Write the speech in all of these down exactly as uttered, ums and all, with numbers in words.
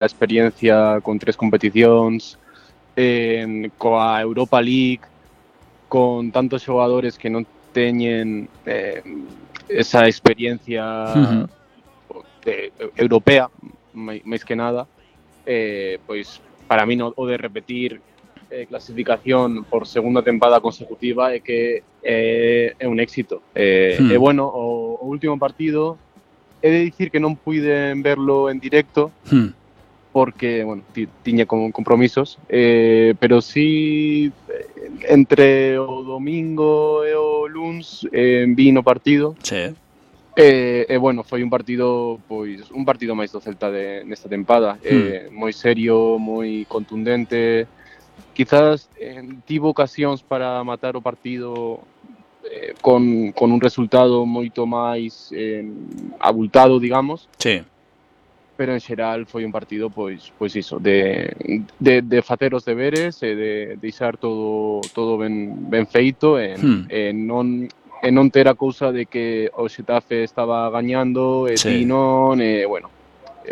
a experiencia con tres competicións, eh, coa Europa League, con tantos xogadores que non teñen eh, esa experiencia Uh-huh. de, europea, máis que nada, eh, pois para mí no, o de repetir eh, clasificación por segunda tempada consecutiva é que eh, é un éxito. Eh, Hmm. E bueno, o, o último partido he de dicir que non puiden verlo en directo, Hmm. porque, bueno, tiña con compromisos, eh, pero sí entre o domingo e o luns eh, vi no partido. Sí. E, eh, bueno, foi un partido, pois, un partido máis do Celta de, nesta tempada, Hmm. eh, moi serio, moi contundente. Quizás eh, tivo ocasións para matar o partido eh, con, con un resultado moito máis eh, abultado, digamos. Sí. Pero en xeral foi un partido pois pois iso, de de de facer os deberes e de deixar todo todo ben ben feito e Hmm. e non e non ter a cousa de que o Xetafe estaba gañando e Sí. ti non, e bueno,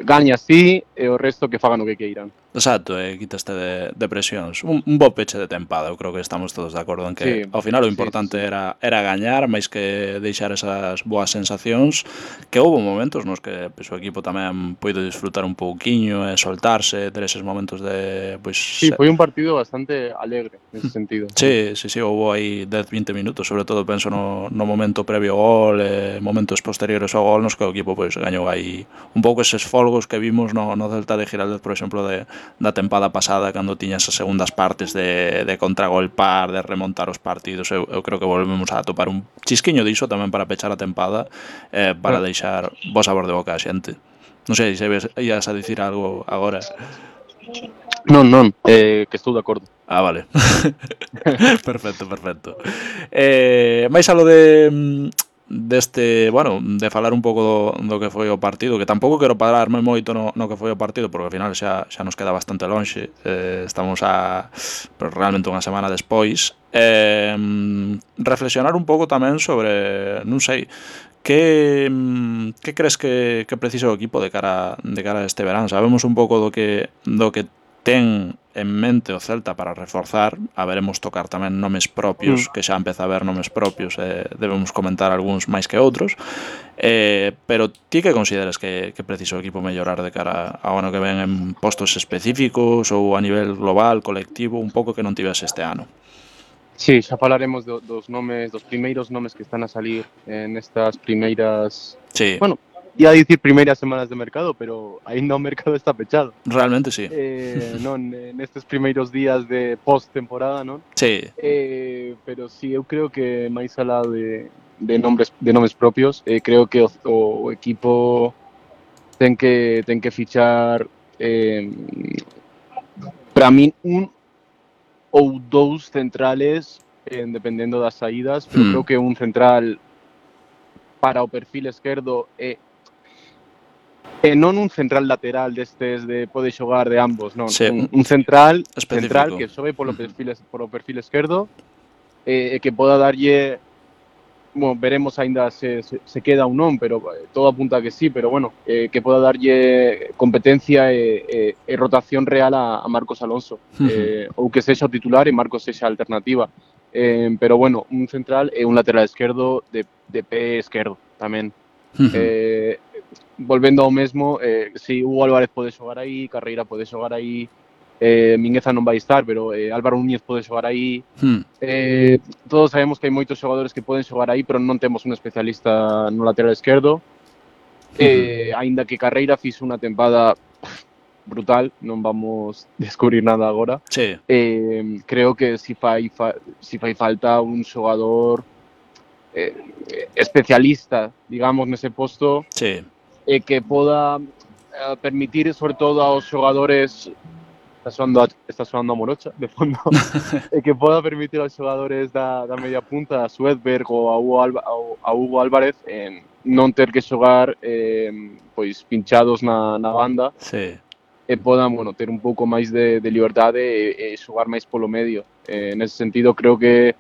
gañas ti e o resto que fagan o que queiran. Exacto, e eh, quitaste de, de presións. Un, un bo peche de tempada, eu creo que estamos todos de acordo en que Sí, ao final o sí, importante sí, sí. era era gañar, máis que deixar esas boas sensacións, que houve momentos nos que pois, o equipo tamén puido disfrutar un pouquiño e soltarse, ter eses momentos de pois Sí, foi un partido bastante alegre nese sentido. Sí, sí, sí, houve aí dez, vinte minutos, sobre todo penso no, no momento previo ao gol e momentos posteriores ao gol nos que o equipo pois gañou aí un pouco eses folgos que vimos no, no Celta de Giraldez, por exemplo, de, da tempada pasada, cando tiña esas segundas partes de, de contragolpar, de remontar os partidos. Eu, eu creo que volvemos a topar un chisquiño diso tamén para pechar a tempada, eh, para deixar bo sabor de boca a xente. Non sei se ves, ias a dicir algo agora. Non, non, eh, que estou de acordo. Ah, vale. Perfecto, perfecto. Eh, máis alo de deste, bueno, de falar un pouco do, do que foi o partido, que tampouco quero pararme moito no, no que foi o partido, porque ao final xa, xa nos queda bastante lonxe, eh, estamos a pues, realmente unha semana despois. Eh, reflexionar un pouco tamén sobre, non sei, que que crees que, que precisa o equipo de cara de cara a este verán? Sabemos un pouco do que do que ten en mente o Celta para reforzar, a veremos tocar tamén nomes propios, Mm. que xa empeza a haber nomes propios, e eh, debemos comentar algúns máis que outros, eh, pero ti que consideras que, que precisa o equipo mellorar de cara ao ano que ven en postos específicos ou a nivel global, colectivo, un pouco que non tivese este ano? Sí, xa falaremos do, dos nomes, dos primeiros nomes que están a salir en estas primeiras... Sí. Bueno, ia dicir primeiras semanas de mercado, pero aínda o mercado está pechado. Realmente sí. Eh, non, nestes primeiros días de post-temporada, non? Sí. Eh, pero sí, eu creo que máis alá de, de nombres de nomes propios, eh, creo que o, o equipo ten que ten que fichar eh, para min un ou dous centrales, eh, dependendo das saídas, pero Hmm. creo que un central para o perfil esquerdo e E non un central lateral destes de pode xogar de ambos, non. Sí, Un, un central específico. central que xogue polo perfil, polo perfil esquerdo e eh, que poda darlle, bueno, veremos aínda se, se, se queda ou non, pero todo apunta a que sí, pero bueno, eh, que poda darlle competencia e, e, e rotación real a, a Marcos Alonso. Uh-huh. Eh, ou que sexa o titular e Marcos sexa a alternativa. Eh, pero bueno, un central e un lateral esquerdo de, de pé esquerdo tamén. Uh-huh. Eh, volvendo ao mesmo, eh, si Hugo Álvarez pode xogar aí, Carreira pode xogar aí, eh, Mingueza non vai estar, pero eh, Álvaro Núñez pode xogar aí. Hmm. Eh, todos sabemos que hai moitos xogadores que poden xogar aí, pero non temos un especialista no lateral esquerdo. Eh, uh-huh. Aínda que Carreira fixo unha tempada brutal, non vamos descubrir nada agora. Sí. Eh, creo que si fai, fa, si fai falta un xogador eh, especialista, digamos, nese posto. Sí. E que poda eh, permitir, sobre todo aos xogadores, está soando a, está soando a Morocha de fondo, e que poda permitir aos xogadores da, da media punta, a Suedberg ou a Hugo, Alba, a Hugo Álvarez, eh, non ter que xogar eh, pois pinchados na, na banda. Sí. E podan, bueno, ter un pouco máis de, de liberdade e, e xogar máis polo medio. Eh, nese sentido, creo que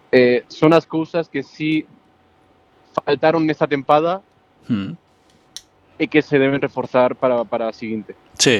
eh, son as cousas que sí faltaron nesta tempada. Hmm. e que se deben reforzar para, para a seguinte. Sí,